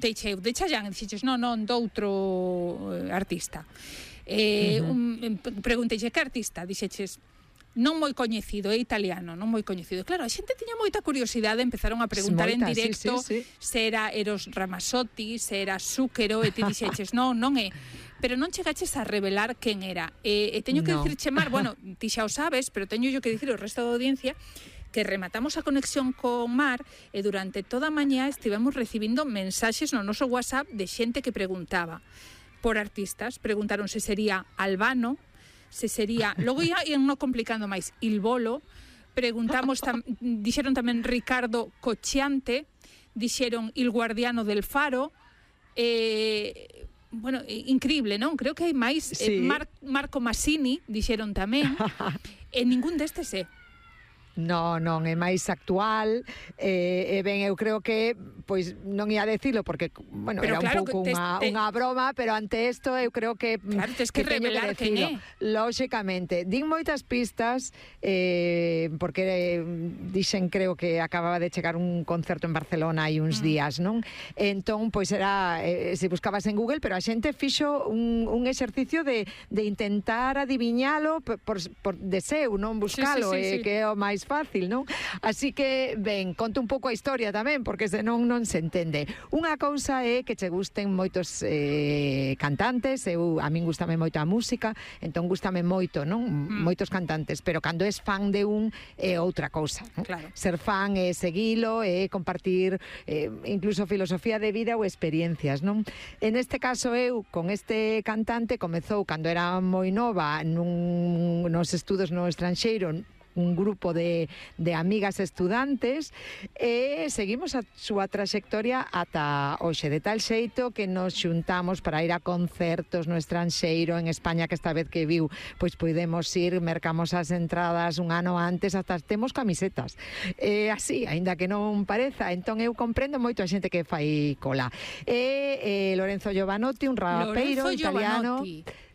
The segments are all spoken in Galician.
Teixeu de Chayanne, dixeches, non, doutro artista. Pregunteixe, que artista? Dixeches, non moi coñecido, é italiano, non moi coñecido. Claro, a xente tiña moita curiosidade, empezaron a preguntar en directo se era Eros Ramazzotti, se era Zúquero, e ti dixeches, non é. Pero non chegaches a revelar quen era. E teño que dicirche, Mar, bueno, ti xa o sabes, pero teño yo que dicir ao resto da audiencia que rematamos a conexión con Mar e durante toda a mañá estivemos recibindo mensaxes no noso WhatsApp de xente que preguntaba por artistas. Preguntaron se sería Albano, se sería... Logo ia non complicando máis, Il Bolo. Preguntamos, dixeron tamén Ricardo Cocciante, dixeron Il Guardiano del Faro. Bueno, increíble, non? Creo que hai máis. Marco Massini, dixeron tamén. E ningún destes Non, é máis actual, ben, eu creo que pois non ia decilo porque, bueno, pero era claro, un pouco unha broma, pero ante isto eu creo que claro, tens que revelar quen é. Lóxicamente, din moitas pistas porque dixen, creo que acababa de chegar un concerto en Barcelona hai uns días, non? Entón, pois era, se buscabas en Google, pero a xente fixo un exercicio de intentar adiviñalo por deseo, non buscalo, que é o máis fácil, non? Así que, ben, conto un pouco a historia tamén, porque senón non se entende. Unha cousa é que che gusten moitos cantantes, a min gustame moito a música, entón gustame moito, non? Moitos cantantes, pero cando és fan de un é outra cousa, non? Claro. Ser fan é seguilo, é compartir incluso filosofía de vida ou experiencias, non? En este caso eu, con este cantante, comezou cando era moi nova nos estudos no estranxeiro, un grupo de amigas estudantes, e seguimos a súa traxectoria ata hoxe, de tal xeito que nos xuntamos para ir a concertos no estranxeiro, en España, que esta vez que viu, pois podemos ir, mercamos as entradas un ano antes, hasta temos camisetas. Así, aínda que non pareza, entón eu comprendo moito a xente que fai cola. Lorenzo Giovanotti, un rapeiro italiano.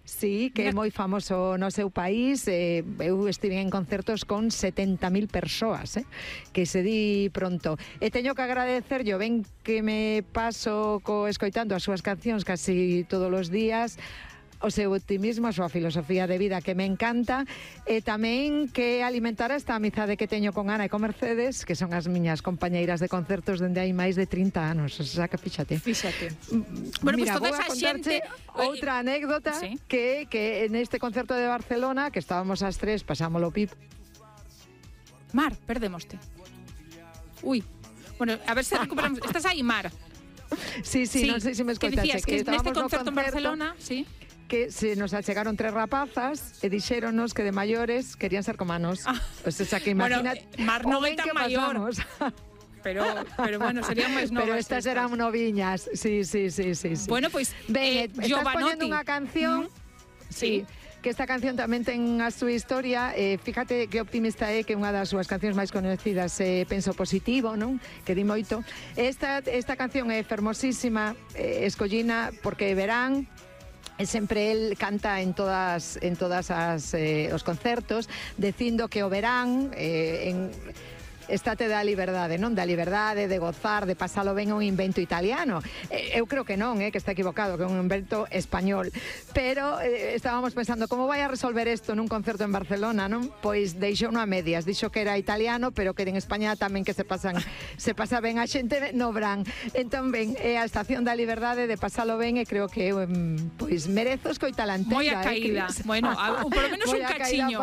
Sí, que é moi famoso no seu país. Eu estive en concertos con 70.000 persoas, que se di pronto. E teño que agradecerlle, ben que me paso escoitando as súas cancións casi todos os días, o seu optimismo, a súa filosofía de vida que me encanta, e tamén que alimentara esta amizade que teño con Ana e con Mercedes, que son as miñas compañeiras de concertos dende hai máis de 30 anos, o sea, que fíxate. Bueno, mira, pues vou a contarte outra anécdota, que neste concerto de Barcelona, que estábamos as tres, pasámolo pip. Mar, perdémoste. Ui, bueno, a ver se recuperamos. Estás aí, Mar? Sí, non sei se me escoitaxe. Que dicías que neste concerto en Barcelona, que se nos achegaron 3 rapazas e dixéronos que de maiores querían ser como nós. O sea, que imagínate, bueno, Mar non é tan maior. Pero bueno, serían máis novas. Pero estas eran noviñas. Sí. Bueno, pois estás poñendo unha canción. Sí. Que esta canción tamén ten a súa historia. Fíjate que optimista é, que unha das súas cancións máis conhecidas é Penso Positivo, non? Que di moito. Esta canción é fermosísima, escollina porque verán, e sempre el canta en todas os concertos, dicindo que o verán estate da liberdade, non? Da liberdade, de gozar, de pasalo ben, un invento italiano. Eu creo que non, que está equivocado, que é un invento español. Pero estábamos pensando, como vai a resolver isto nun concerto en Barcelona, non? Pois deixou a medias, dixo que era italiano, pero que en España tamén que se pasa ben a xente no Bran. Entón, ben, é a estación da liberdade, de pasalo ben, e creo que pois merezo escoitala entera. Moi a caída. Bueno, por lo menos un cachiño.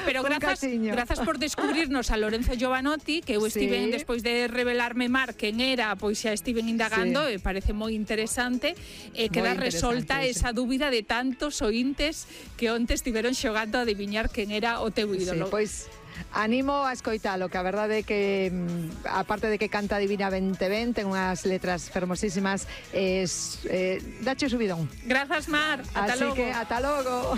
Pero grazas por descubrirnos a Lorenzo Giovanotti, que eu estive despois de revelarme Mar quen era, pois xa estiven indagando, e parece moi interesante, e queda resolta esa dúbida de tantos ointes que onte estiveron xogando a adiviñar quen era o teu ídolo. Pois animo a escoitalo, que a verdade é que aparte de que canta divinamente ben, ten unhas letras fermosísimas, dache subidón. Grazas, Mar. Ata logo. Así que ata logo.